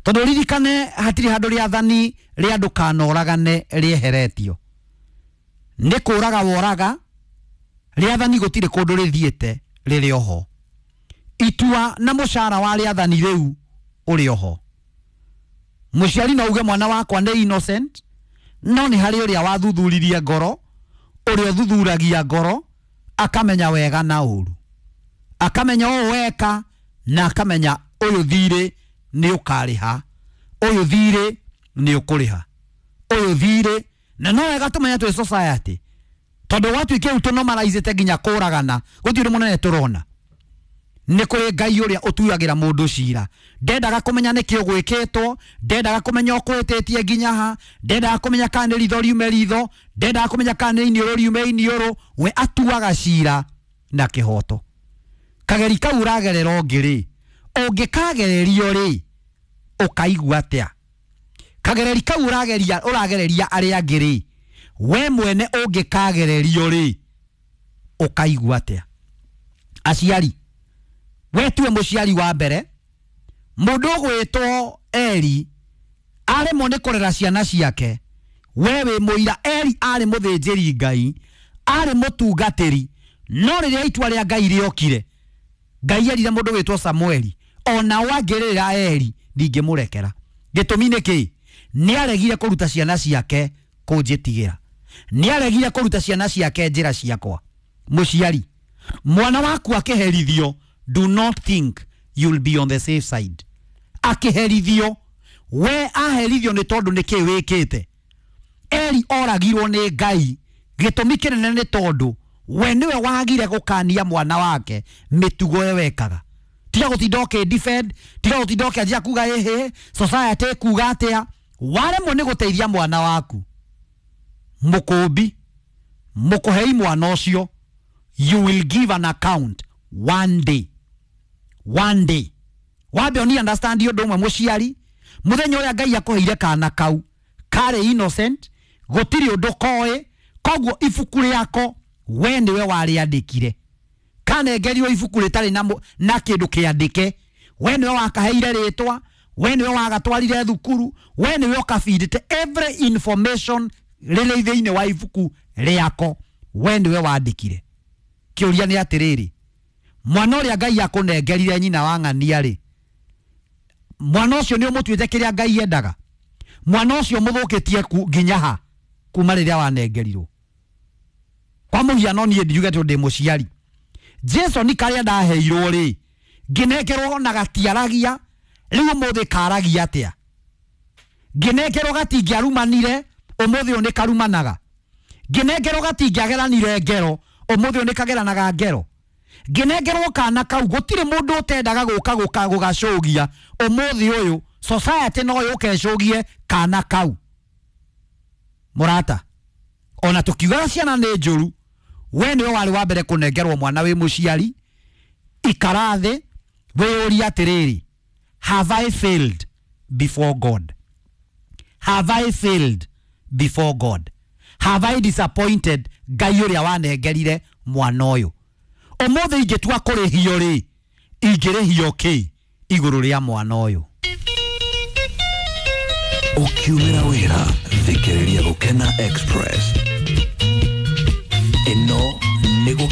Tondu ririkane hatiri handu rĩathani rĩa ndũkanoragane rĩeheretio. Nĩ kũraga woraga, rĩathani gũtirĩ kũndũ rĩthiĩte rĩrĩ oho. Itua na mũcara wa rĩathani rĩu ũrĩ oho. Mũciari no uge mwana wakwa nĩ innocent, no nĩ harĩ ũrĩa wathuthuririe ngoro, ũrĩa ũthuthuragia ngoro akamenya wega na ũru, akamenya ũũ weka na akamenya ũyũ thirĩ nĩ ũkarĩha, ũyũ thirĩ nĩ ũkũrĩha, ũyũ thirĩ. Na no wega tũmenye twĩ society, tondũ gwatuĩka rĩu tũnomaraizĩte nginya kũragana, gũtirĩ ũndũ mũnene tũrona. Nĩ kũrĩ Ngai ũrĩa ũtuagĩra mũndũ cira. Ndendaga kũmenya nĩkĩ ũgwĩkĩtwo, ndendaga kũmenya ũkũhĩtĩtie nginya ha, ndendaga kũmenya kana nĩ ritho riume ritho, ndendaga kũmenya kana nĩ iniũrũ riume iniũrũ. We atuaga cira na kĩhoto. Kageri kau ũragerera ũngĩ rĩ, ũngĩkagererio rĩ, ũkaigua atĩa? Kagereri kau ũrageria ũragereria arĩa angĩ rĩ, we mwene ũngĩkagererio rĩ, ũkaigua atĩa? Aciari, we tiwe mũciari wa mbere. Mũndũ ũgwĩtwo Eli aremwo nĩ kũrera ciana ciake, we wĩ mũira. Eli arĩ mũthĩnjĩri Ngai, arĩ mũtungatĩri, no rĩrĩa itua rĩa Ngai rĩokire, Ngai erire mũndũ wĩtwo Samueli, ona wangĩrĩra Eli ndingĩmũrekera. Gĩtũmi nĩ kĩ? Nĩ aregire kũruta ciana ciake kũnjĩtigĩra, nĩ aregire kũruta ciana ciake njĩra ciakwa. Mũciari, mwana waku akĩherithio, do not think you'll be on the safe side. Akĩherithio, we aherithio nĩ tondũ nĩ kĩ wĩkĩte. Eli oragirwo nĩ Ngai, gĩtũmi kĩnene nĩ tondũ we nĩwe wagire gũkania mwana wake mĩtugo ĩyo wekaga. Tiga gũtinda ũkĩ defend, tiga gũtinda ũkĩanjia kuga ĩhĩ society kuga atĩa. Waremwo nĩ gũteithia mwana waku, mũkũmbi mũkũhei mwana ũcio, you will give an account one day. One day wambe oni understand ũndũ ũmwe mũciari, mũthenya ũrĩa Ngai akũheire kana kau karĩ innocent, gũtirĩ ũndũ koĩ, koguo ibuku rĩako we nĩwe warĩandĩkire. Kanengerio ibuku rĩtarĩ na kĩndũ kĩandĩke, we nĩwe wakaheire rĩtwa, we nĩwe wagatwarire thukuru, we nĩwe ũkabindĩte every information rĩrĩ thĩinĩ wa ibuku rĩako, we nĩwe wandĩkire. Kĩũria nĩ atĩrĩrĩ, mwana ũrĩa Ngai akũnengerire nyina wa ng'ania rĩ, mwana ũcio nĩ ũmũtuĩte kĩrĩa Ngai endaga? Mwana ũcio mũthũkĩtie nginya ha kuma rĩrĩa wanengerirwo? Kwa mũhiano niĩ ndiuge tondũ ndĩ mũciari, Jason karĩa ndaheirwo rĩ, ngĩnengerwo na gatiaragia, rĩu ũmũthĩ karagia atĩa? Ngĩnengerwo gatingĩarumanire, ũmũthĩ ũyũ nĩ karumanaga. Ngĩnengerwo gatingĩageranire ngero, ũmũthĩ ũyũ nĩ kageranaga ngero. Ngĩnengerwo kana kau, gũtirĩ mũndũ ũtendaga gũka gũka gũgacũgia, ũmũthĩ ũyũ society no yũke ĩcũgie kana kau. Mũrata, ona tũkiugaga ciana nĩ njũru, we nĩwe warĩ wa mbere kũnengerwo mwana wĩ mũciari. Ikara thĩ wĩyũrie atĩrĩrĩ, have I failed before God? Have I failed before God? Have I disappointed Ngai ũrĩa wanengerire mwana ũyũ? Ũmũthĩ ingĩtua kũrĩhio rĩ, ingĩrĩhio kĩ igũrũ rĩa mwana ũyũ? Ũkiumĩra wĩra, thikĩrĩria Gũkena Express. Ĩno